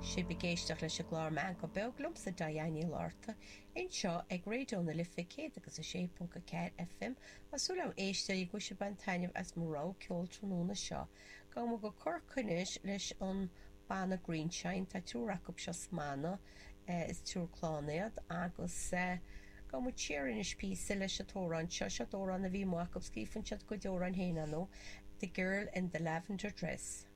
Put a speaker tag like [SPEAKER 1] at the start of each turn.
[SPEAKER 1] Sibh ag éisteacht leis an gclár Meangadh Beag liomsa Diane Ní Fhlatharta anseo ag Raidió na Life 106.4 FM. Tá súil agam a éisteoirí go bhfuil sibh ag baint taitneamh as mo rogha ceoil tráthnóna seo. Gabhfaidh muid go Corcaigh anois leis an banna Greenshine. Tá triúr acu seo sa mbanna. Is triúr clann iad agus gabhfaidh muid siar anois píosa leis an t-amhrán seo. Seo amhrán a bhí amuigh acu. Scríobhann siad a gcuid amhráin féin, ar ndóigh, The Girl in the Lavender Dress.